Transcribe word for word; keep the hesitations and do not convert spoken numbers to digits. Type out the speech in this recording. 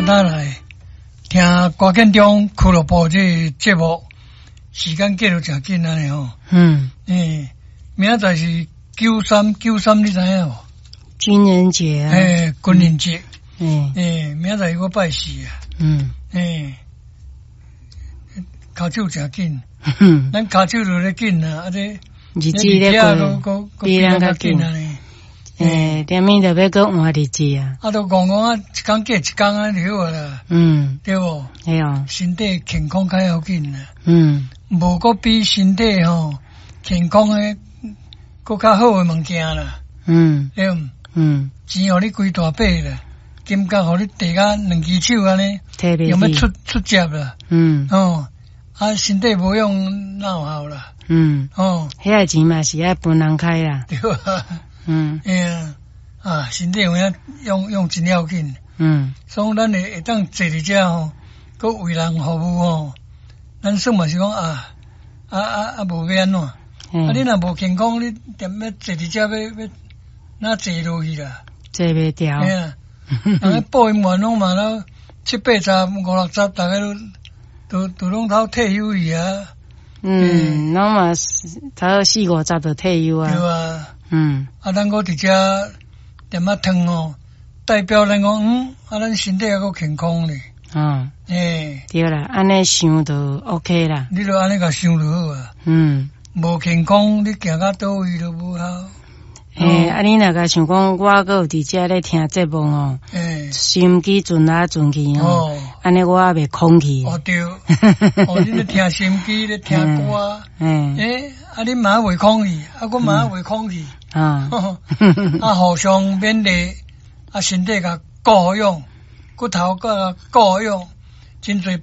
咱來聽歌建中俱樂部這个節目，時間過得誠緊按呢吼。嗯。欸，明仔載是九三九三，你知影無？軍人節啊。欸，軍人節。嗯。欸，明仔載閣拜四啊。嗯。欸，跤手誠緊。咱跤手就咧緊啊，啊這日子咧過，比咱較緊。欸，踮咪就欲閣換日子啊！啊，都戇戇啊，一工過一工按呢就好啦。嗯，對無？對啊。身體健康較要緊啦。嗯。無閣比身體吼健康的閣較好的物件啦。嗯。對毋？嗯。錢予你規大筆啦，金角予你提甲兩支手按呢，用欲出出接啦。嗯。哦，啊，身體無用哪有效啦？嗯。哦，彼个錢嘛是愛分人開啦。對啊。嗯，欸啊，啊，身體有影用用真要緊。嗯，所以咱會會當坐佇遮吼，閣為人服務吼，咱算嘛是講啊啊啊啊，無欲按怎？啊，你若無健康，你踮欲坐佇遮欲欲哪坐落去啦？坐袂牢。嘿啊，人咧播音員攏嘛都七八十、五六十，逐个都都都攏透退休去啊。嗯，攏嘛差不多四五十就退休啊。對啊。嗯，啊，咱閣佇遮踮仔褪吼，代表咱講，嗯，啊，咱身體猶閣健康咧。嗯，欸，對啦，按呢想就 OK 啦。你就按呢共想就好啊。嗯，無健康，你行到佗位都無效。欸，啊，你若共想講，我閣有佇遮咧聽節目哦，欸，收音機轉來轉去哦，按呢我也袂空去。哦對，哦，你咧聽收音機咧聽歌，欸，欸，啊，你嘛袂空去，啊，我嘛袂空去。啊，啊，互相勉勵，啊，身體共顧好養，骨頭共顧好養，真濟。